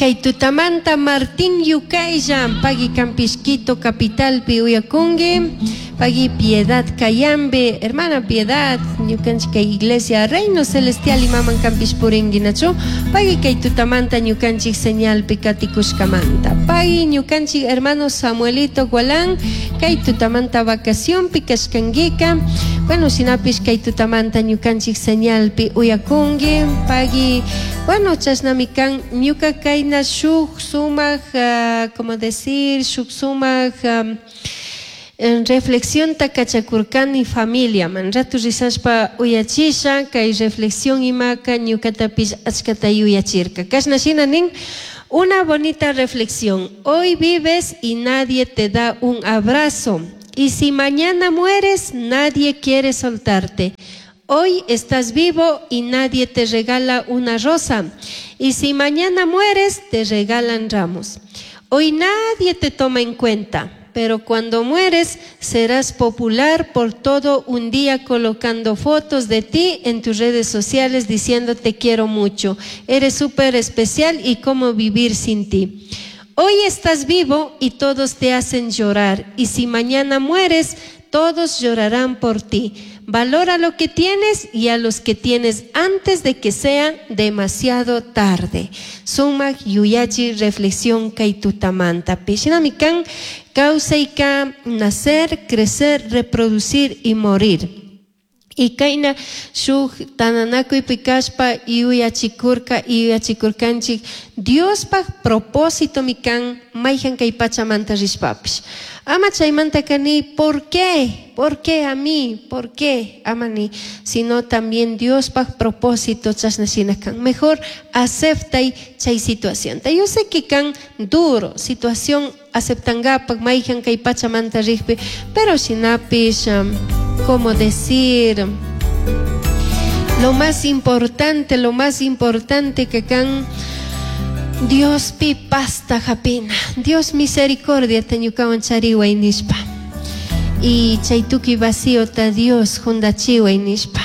Kay tutamanta Martín Yucailla, pagui canpish Quito capitalpi uyakungi, pagui Piedad Cayambe, hermana Piedad, ñukanchik kay iglesia Reino Celestial imaman canpish puringui nachu, pagui kay tutamanta ñukanchik señalpi katikushkamanta, pagui ñukanchik hermano Samuelito Gualán, kay tutamanta vacacionpi kashkanguika, bueno shinapish kay tutamanta ñukanchik señalpi uyakungui, pagui, bueno chashnami kan. Ñuca kayna shuk sumak, como decir, shuk sumak reflexionta kachakurkani familiaman. Rato rizashpa uyachisha, kay reflexión imaka ñucatapish achkata yuyachirka. Kashna shina nin, Una bonita reflexión. Hoy vives y nadie te da un abrazo. Y si mañana mueres, nadie quiere soltarte. Hoy estás vivo y nadie te regala una rosa. Y si mañana mueres, te regalan ramos. Hoy nadie te toma en cuenta, pero cuando mueres serás popular por todo un día colocando fotos de ti en tus redes sociales diciendo te quiero mucho, eres súper especial y cómo vivir sin ti. Hoy estás vivo y todos te hacen llorar, y si mañana mueres, todos llorarán por ti. Valora lo que tienes y a los que tienes antes de que sea demasiado tarde. Sumak yuyachi reflexión kay tutamanta. Shinami kan kawsayka nacer, crecer, reproducir y morir. Y kayna shuk tananakuypi kashpa yuyachikurka, yuyachikurkanchik Diospaj propósitomi kan mayhan kay pachamanta rishpapish. Ama chaymantaka ni ¿por qué? ¿Por qué a mí? ¿Por qué? Ama ni, sino también Diospaj propósito chashna shina kan. Mejor aceptay chay situación. Yo sé que kan duro situación aceptangapak mayhan kay pachamanta rikpi, pero shinapish, como decir, lo más importante, lo más importante que kan Diospi pasta hapina, Dios misericordia ta ñukawan chariway nishpa, y chay tukuy vaciota Dios jundachiway nishpa,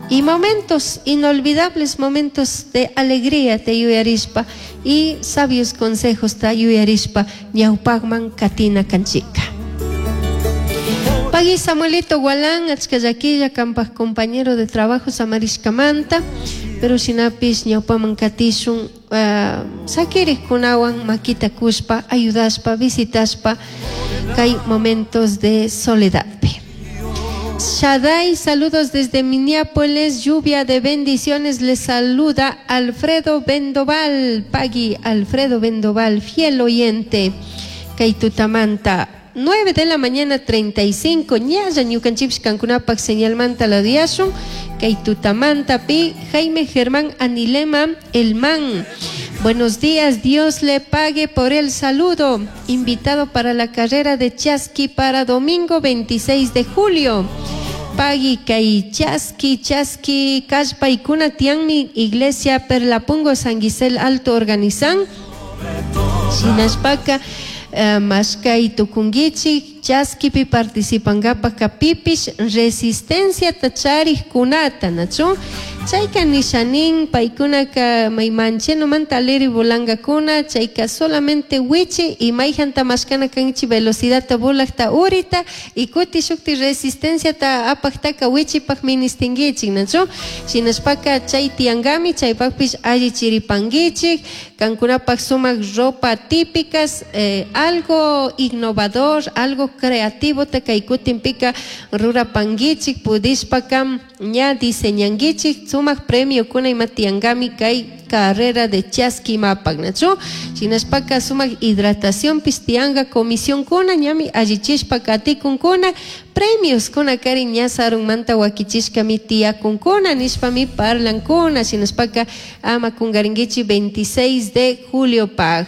y momentos inolvidables, momentos de alegría te yuyarishpa y sabios consejos ta yuyarishpa ñawpakman katina kanchika. Pagui Samuelito Gualán, achka llaquilla kanpak compañero de trabajo samarishkamanta, pero shinapish ñawpaman katishun, sakirikkunawan makita kushpa, ayudashpa, visitashpa kay momentos de soledadpi. Shaddai, saludos desde Minneapolis, lluvia de bendiciones, les saluda Alfredo Vendoval, Pagui Alfredo Vendoval, fiel oyente, kay tutamanta, 9 de la mañana 35, ñalla ñukanchipsh kankunapak señalmanta la diashun, kay tutamanta pi, Jaime Germán Anilema, el man. Buenos días, Dios le pague por el saludo. Invitado para la carrera de Chasqui para domingo 26 de julio. Pagui kay Chasqui, Chasqui, Kashpaykuna tianmi iglesia Perlapungo San Gisel Alto organizan. Shinashpaka, mashkay tukunguichik, Chasquipi participangapak pipish resistencia charikkunata, nachu? Chayka nishanin, paykunaka may manchenomanta aleri volangakuna, chayka solamente wichi y mayjanta mashkana kanchi velocidadta volakta urita y kuti shukti resistenciata apaktaka wichipak ministinguichik, nachu? Shinashpaka chay tiangami, chaypakpish alli chiripanguichik, kankunapak sumak ropa típicas, algo innovador, algo creativo te kaykutinpika rurapanguichik, pudishpaka ña diseñanguichik, sumak premio kuna ima tiangami kay carrera de Chasqui mapak, nachu? Shinashpaka sumak hidratación pistianga comisión kuna ñami allichishpa katikunkuna, premios kuna kari ña sarunmanta wakichishkami tiyakunkuna nishpami parlankuna, shinashpaka ama kungaringuichi 26 de julio pag.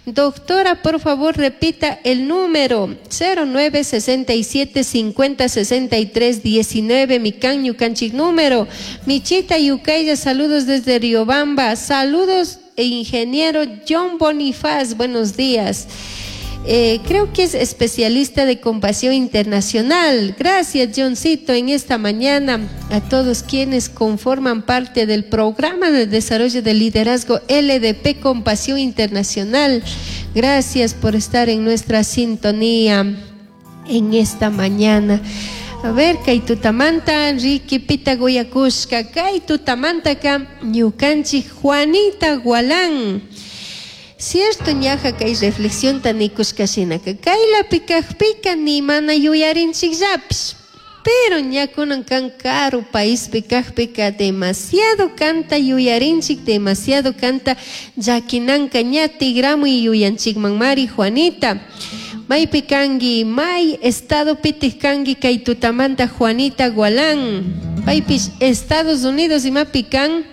Doctora, por favor, repita el número cero nueve sesenta y siete cincuenta sesenta y tres diecinueve, mi can, ñukanchik número. Michita Yucaya, saludos desde Riobamba. Saludos, ingeniero John Bonifaz, buenos días. Creo que es especialista de compasión internacional. Gracias, Johncito, en esta mañana a todos quienes conforman parte del programa de desarrollo de liderazgo LDP Compasión Internacional. Gracias por estar en nuestra sintonía en esta mañana. A ver, kay tutamanta, Ricky Pita Goyakushka, kay tutamantaka, ñukanchik Juanita Gualán. Cierto ñaja kay reflexión tanikushka shinaka, kaylapi kajpika ni mana yuyarinchikllapish. Pero ña kunan kan karu paispi kajpika demasiado kanta yuyarinchik, demasiado kanta llakinanka ña tigramuy yuyanchikman mari Juanita. Maypi kanki, may estado pitik kanki kay tutamanta Juanita Gualán. Paypish Estados Unidos imapi kan.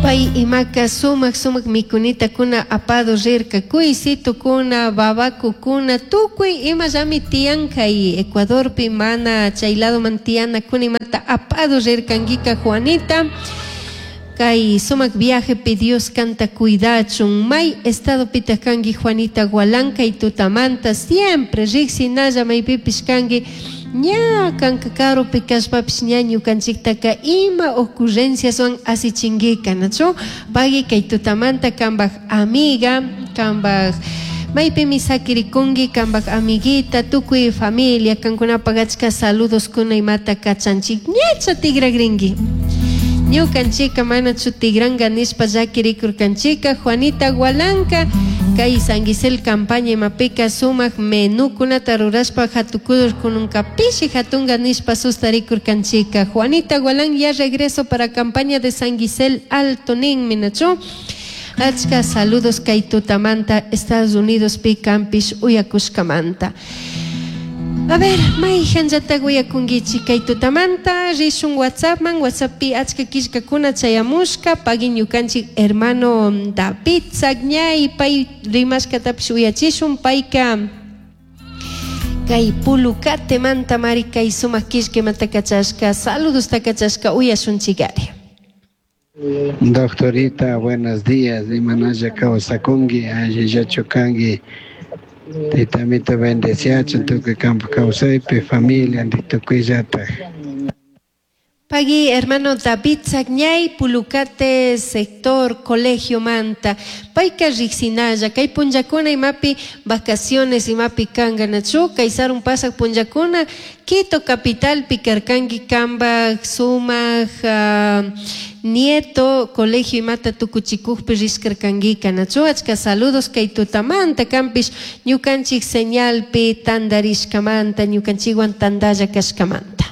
Pay imaka sumak sumak mikunitakuna apado rirka, kuysitukuna, babakukuna, tukuy imallami tiyan kay Ecuadorpi mana chay ladoman tiyanakuna imata apado rirkankika Juanita. Kay sumak viajepi Dios kanta cuidachun. May estado pitaq kanki Juanita Gualán kay tutamanta siempre riksinalla maypipish kanki. Ña kanka karupi kashpapish ña ñukanchiktaka ima ocurrenciaswan asichinkiqa, nachu? Pagui kay tutamanta kambaj amiga, kambaj maypimi sakirikunki kambaj amiguita, tukuy familia kankunapaq achka saludoskuna imata kachanchik. Ñacha tigragrinki. Ñukanchika manachu tigranka nishpa llakirikurkanchika. Juanita Gualanka kay San Gisel campaña imapika sumak menukunata rurashpa hatukudur kununka pishi hatunga nishpa sustarikurkanchika. Juanita Gualán ya regreso para campaña de San Gisel Alto ninmi, nachu? Achka saludos kay tutamanta Estados Unidos pi kampish uyakushkamanta. A ver, mayhanllatak uyakunkichik kay tutamanta, rishun WhatsAppman, WhatsApppi achka killkakuna chayamushka, pagui ñukanchik hermano David Sagñay, pay rimashkatapish uyachishun, payka kay Pulucatemanta mari kay sumak killkamanta kachashka, saludosta kachashka uyashunchikari. Doctorita, buenos días. Imanalla kawsakunki, allillachu kanki. Taytamita bendeciachun tukuy kampa kawsaypi, familia tukuyllataj. Pagui, hermano David Sagñay, Pulucate, sector Colegio Manta. Payka riksinalla, kay punllakuna imapi vacaciones imapi kanka nachu, kay sarun pasak punllakuna, Quito capital karkanki kambaj sumak nieto colegio imata tukuchikukpi rishkarkankika nachu. Achka saludos kay tutamanta kampish ñukanchik señalpi tandarishkamanta, ñukanchikwan tandalla kashkamanta.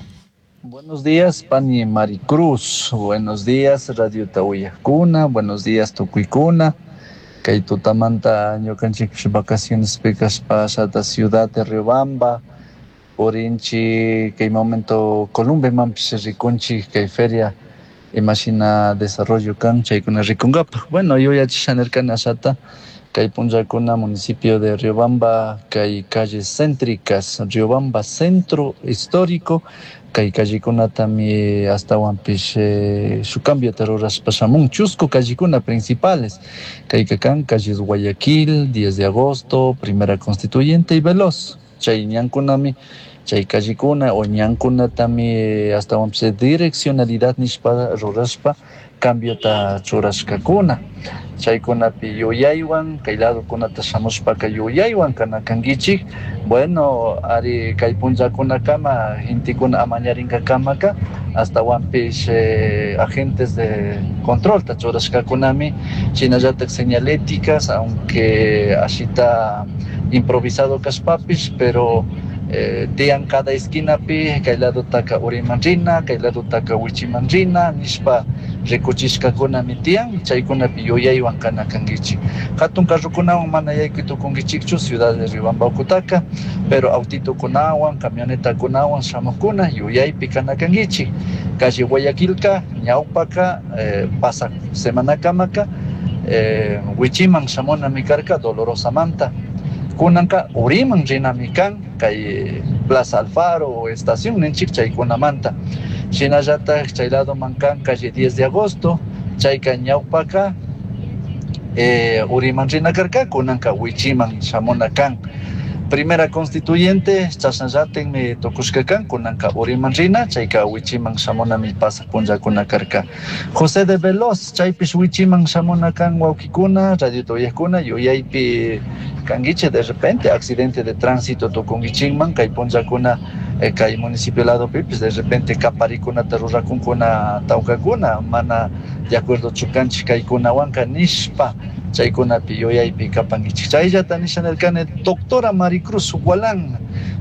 Buenos días, Pani Maricruz. Buenos días, Radio Tahuillacuna. Buenos días, Tucuicuna. Kay tutamanta ñukanchik vacaciones kashpa shata ciudad de Riobamba. Purinchi kay momento Columbemanpish rikunchik kay feria imashina desarrollo kan chaykuna rikunkapaj. Bueno, yuyachisha nirkani ashata kay punllakuna municipio de Riobamba kay calles céntricas Riobamba centro histórico kay callekunatami astawanpish shuk cambiota rurashpa shamun chusku callecuna principales kayka kan calles Guayaquil, 10 de agosto, Primera Constituyente y Veloz. Chay ñankunami chay callecuna o ñankunatami astawanpish direccionalidad nishpa rurashpa cambiota churashkakuna. Chaykunapi yuyaywan kay ladokunata shamushpaka yuyaywan kana kankichik. Bueno, ari kay punllakunakama gentekuna amañarinkakamaka astawanpish agentes de control ta churashkakunami shinallatak señaléticas, aunque ashita improvisado kashpapish, pero tiyan cada esquinapi kay ladotaka uriman rina, kay ladotaka wichiman rina nishpa rikuchishkakunami tiyan, chaykunapi yuyaywan kana kankichik. Hatun carrokunawan mana yaykuy tukunkichikchu ciudad de Riobamba ukutaka, pero autitokunawan, camionetakunawan shamukuna yuyaypi kana kankichik. Calle Guayaquilka ñawpaka pasak semanakamaka wichiman shamunami karka Dolorosamanta. Kunanka uriman rinami kan kay Plaza Alfaro o estación ninchik chaykunamanta. Shinallatak chay ladoman kan calle 10 de agosto, chayka ñawpaka eh, uriman rina karka kunanka wichiman shamuna kan. Primera constituyente chashnallatinmi tukushka kan kunanka uriman rina chayka wichiman shamunami pasaq punllakuna karka. José de Veloz chaypish wichiman shamuna kan wawkikuna radiota uyakuna yuyaypi kankichik de repente accidente de tránsito tukunkichikman kay punllakuna eh, kay municipio ladopipis de repente kaparikunata rurakunkuna tawkakuna mana de acuerdo chukanchik kaykunawanka nishpa chaykunapi yuyaypi kapankichik. Chayllata nisha nirkani doctora Maricruz Gualán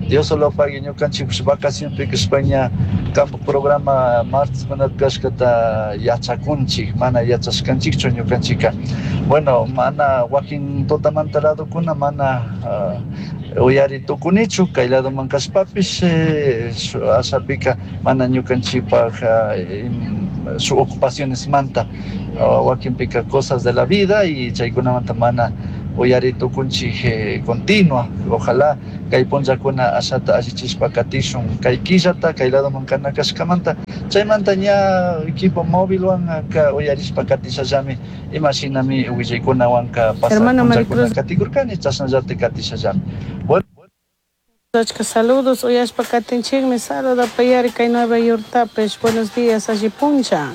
Dios lo pague ñukanchikpish vacacionpi kashpaña campo programa martes kunapi kashkata yachakunchik mana yachashkanchikchu ñukanchika. Bueno mana wakin tutamanta ladokuna mana uh, uyari tukunichu kay ladoman kashpapish eh, ashapika mana ñukanchikpaj uh, su ocupaciones manta uh, wakinpika cosas de la vida y chaykunamanta mana uyari tukunchik eh, continua. Ojalá kay punllakuna ashata allichishpa katishun kay killata kay ladoman kana kashkamanta. Chaymanta ña equipo móvilwan ka uyarishpa katishallami imashinami willaykunawanka pasaq Hermana punllakuna Maricruz. katikurkani chashnallata katishallami. Bueno. Achka saludos uyashpa katinchikmi saludapayari kay Nueva Yorktapish. Buenos días alli puncha.